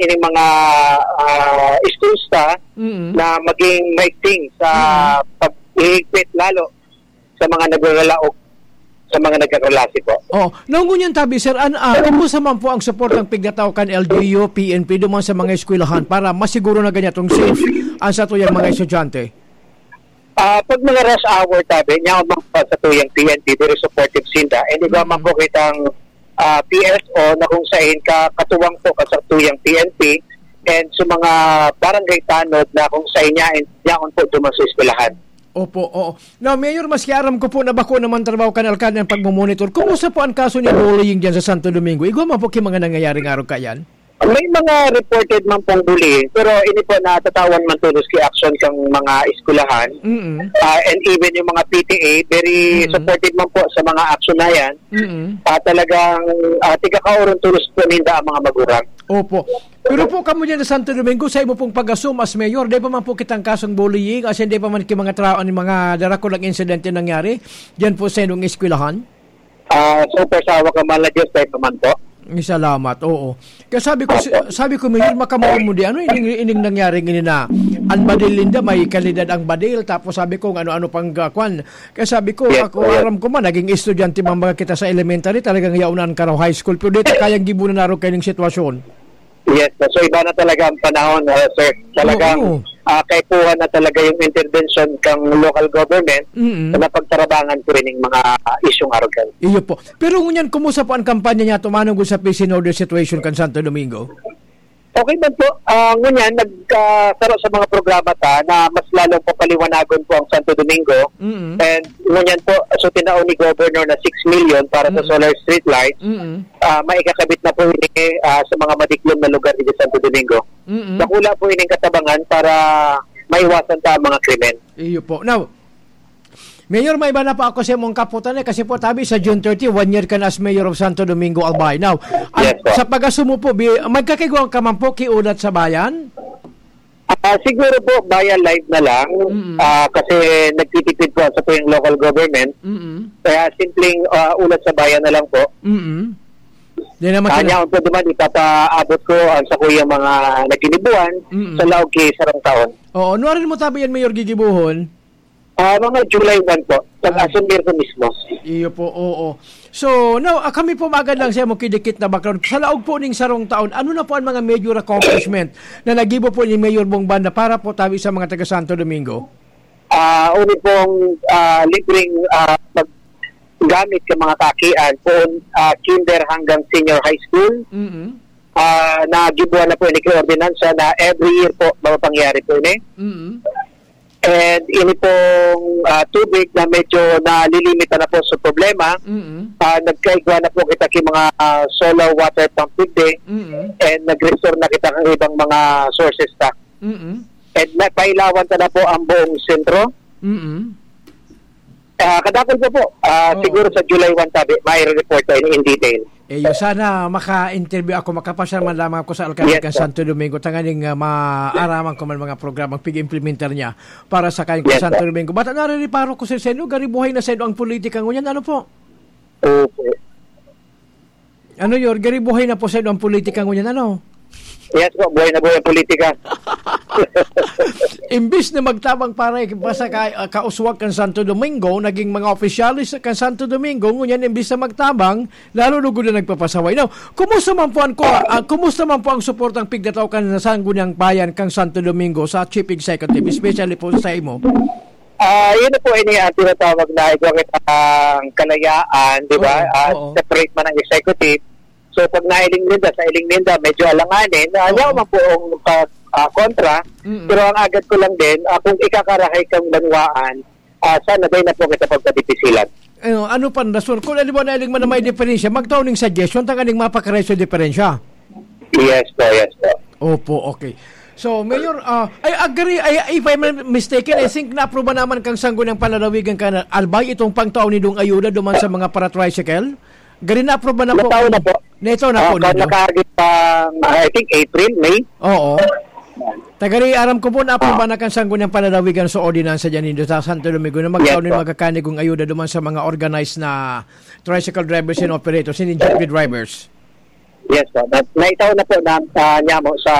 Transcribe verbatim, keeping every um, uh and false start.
ining mga, ah, schools ta Mm. na maging maigting sa Mm. pag-ihigpit lalo sa mga nagraralaog, sa mga nagkakalasi po. Oh, ngunyan tabi, sir, an-, ah, kumusta man po ang suportang pigtataw kan L G U, P N P, duman sa mga eskwelahan para masiguro na ganyan itong safe ang satuyang mga estudyante? Ah, pag mga rush hour, tabi, niya ang mga satuyang P N P, very supportive sinda. And igwa man Mm. po kitang, ah, P S O na kung sain ka, katuwang po ka sa tuyang P N P, and sa mga barangay tanod na kung sain niya, and yaon po duman sa eskwelahan. Opo, oo. Now, Mayor, maski aram ko po na bako naman trabaho kan alkalde ang pagmomonitor. Kumusta po ang kaso ni bullying dyan sa Santo Domingo? Igwa man po ki mga nangyayari nga arog kayan? May mga reported man pong bullying, pero ini po natatawan man tolos ki action kang mga eskwelahan. Mm. Ah, and even yung mga P T A, very Mm. supportive man po sa mga action na yan. Mm. Ah, talagang, ah, tigakaoron tolos po ninda ang mga magurang. Opo. Pero po kamo dyan sa Santo Domingo, sa imo pong pag-assume as mayor, di pa man po kitang kasong bullying, as in, di pa man ki mga tra-, mga darakulang insidente nangyari dyan po sa inyong eskwelahan? Ah, so far, sa hawak ng mahal na Diyos, tayo pa man po. Ay, salamat, oo. Kaya sabi ko, si-, Opo. sabi ko, Mayor, makamuon mo di, ano, ining, ining nangyari ngini na, ang badil ninda, may kalidad ang badil, tapos sabi ko, ano-ano pang, ah, kwan. Kaya sabi ko, Yes, ako, po, yes. aram ko man, naging estudyante man mga kita sa elementary, talagang yaon na ang Karaw High School, pero di ta kayang gibunan na rin kayong sitwasyon. Yes, so iba na talaga ang panahon, ah, sir. Talagang, Oo. ah, kaipuhan na talaga yung intervention kang local government Mm. na pagtarabangan po ining mga isyung arugan. Iyo po. Pero ngunyan, kumusta po ang kampanya niya tumanong sa peace and order situation kan Santo Domingo? Okay man po. Ah, ngunyan, nagkasaro sa mga programa ta na mas lalong papaliwanagon po ang Santo Domingo. Mm. And ngunyan po, so tinao ni Governor na six million para sa Mm. solar street lights. Mm. Ah, maikakabit na po ini, ah, sa mga madiklom na lugar dito sa Santo Domingo. Mm. Dakula po ining katabangan para maiwasan ta ang mga krimen. Iyo po. Now, Mayor, may iba na pa ako sa imong kaputan, eh, kasi po, tabi sa June thirty, one year ka na as Mayor of Santo Domingo, Albay. Now, ang, Yes, po. sa pag-asumo po, bi-, magkakaigwa ka man po ki Ulat sa Bayan? Ah, siguro po, via live na lang. Mm. Ah, kasi nagtitipid po sa po yung local government. Mm. Kaya simpleng, ah, Ulat sa Bayan na lang po. Mm. Di naman Kanya sila- po duman, ipapaabot ko ang sa kuyang mga naginibuan Mm. sa laog ki sarong taon. Oo, nuarin mo tabi yan, Mayor, gigibuhon? Ah, mga July one po. Pag Ah. asumir ko mismo. Iyo po, oo. So, now, ah, kami po magad lang sa imong kidikit na background. Sa laog po ning sarong taon, ano na po ang mga major accomplishment na nagibo po ni Mayor Bong Banda para po tabi sa mga taga Santo Domingo? Ah, uni pong, ah, libreng, ah, paggamit sa mga kakian, poon, ah, kinder hanggang senior high school. Mm-mm. Ah, nagibuan na po ini ki ordinansa na every year po mapapangyari po ini. Mm-mm. And ini pong, ah, tubig na medyo nalilimit na po sa problema, Mm. ah, nagkaigwa na po kita ki mga, ah, solar water pump digdi, Mm. and nag-restore na kita ng ibang mga sources ta. Mm. And napailawan ta na po ang buong sentro. Mm. Ah, kadakol po po. Ah, Oo. Siguro sa July one tabi, may report tayo in detail. Eh, yun, sana maka-interview ako, makapasya man lamang ako sa alkalde Yes, kan sir. Santo Domingo, tanganing, ah, maaraman ko man mga programang pig-implementar niya para sa kayong Yes, Santo sir. Domingo. Bata, naririparo ko, sir, sa inyo, gari buhay na sa inyo ang politika ngunyan. Ano po? Opo. Ano yun? Gari buhay na po sa inyo ang politika ngunyan, ano? Yes po, buhay na buhay ang politika. Imbis na magtabang para ikipasa ka, ah, kauswag kan Santo Domingo, naging mga opisyalis kan Santo Domingo, ngunyan imbis na magtabang, lalo lugod na nagpapasaway. Now, kumusta man po ang, ah, kumusta man po ang suportang pigtataw kan Sangguniang Bayan kang Santo Domingo sa Chief Executive, especially po sa imo? Ah, yun na po, ini ang tinatawag na igwa kitang kalayaan, di ba? Oo, Ah, oo. Separate man ang executive. So, pag nailing ninda, sa iling ninda, medyo alanganin, ah, Oo. yaw man po ang pag, ah, kontra. Mm. Pero ang agad ko lang din, ah, kung ikakarahay kang banwaan, ah, sana day na po kita pagpadipisilan. Ano, ano pa ang rason? Kung alam mo na iling man na may diferensya, magtao ning suggestion, tanganing mapakaray sa diferensya. Yes po, yes po. Opo, okay. So, Mayor, ah, I agree, I, if I'm not mistaken, I think naapruba naman kang Sangguniang Panlalawigan kan Albay itong pangtao nindong ayuda duman sa mga para-tricycle. Gari naapruba na po. Natao na po. Natao na Ah, po kan ninyo. Nakaagit pang, I think, April, May. Oo. Tagari, aram ko po, naapruba Ah. na kan Sangguniang Panlalawigan sa ordinansa dyan nindo sa Santo Domingo na magtao Yes, nin po. magkakanigong ayuda duman sa mga organized na tricycle drivers and operators, and jeepney drivers. Yes po. Na, naitaw na po na, ah, nyamo sa